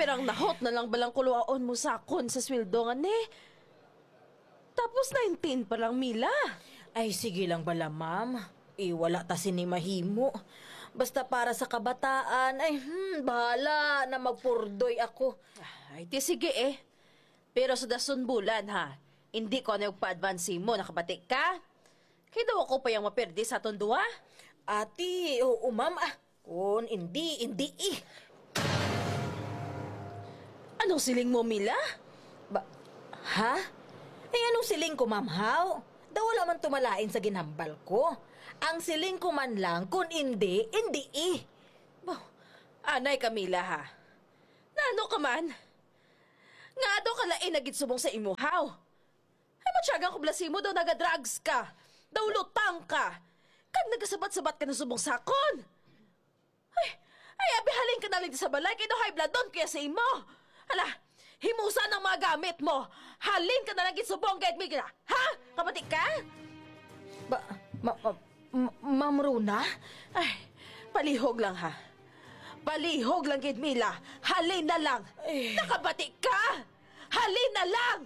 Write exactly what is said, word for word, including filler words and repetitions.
Pero ang nahot na lang balang kuluaon mo sa akon sa sweldo nga ni. Tapos nineteen pa lang, Mila. Ay, sige lang bala, ma'am. Eh, wala ta sini mahimo. Basta para sa kabataan, ay, hmm, bahala na magpurdoy ako. Ay, ti sige eh. Pero sa dason bulan, ha, hindi ko na yung pa-advance mo, nakabati ka? Kaya daw ako pa yung maperde sa aton duha? Ati, oo, ma'am. Ah, kun hindi, hindi eh. Anong siling mo, Mila? Ba, ha? Eh, anong siling ko, ma'am, haw? Daw wala man tumalain sa ginhambal ko. Ang siling ko man lang, kun hindi, hindi eh. Bah, anay ka, Mila, ha? Nano ka man? Nga daw ka lain na gid subong sa imo, haw? Ay, matyagang ko bala sa imo daw naga-drugs ka. Daw lutang ka. Kag nagasabat-sabat ka na subong sakon. Ay, ay, abi, halin ka na lang sa balay, kay daw high blood doon kaya sa imo. Hala, himusa ng mga gamit mo. Halin ka na lang gid subong, gayad mo gina. Ha? Kabati ka? Ba, ma, ma, ma, Ma'am Rona? Ay, palihog lang, ha. Palihog lang gid, Mila. Halin na lang. Eh. Nakabati ka? Halin na lang.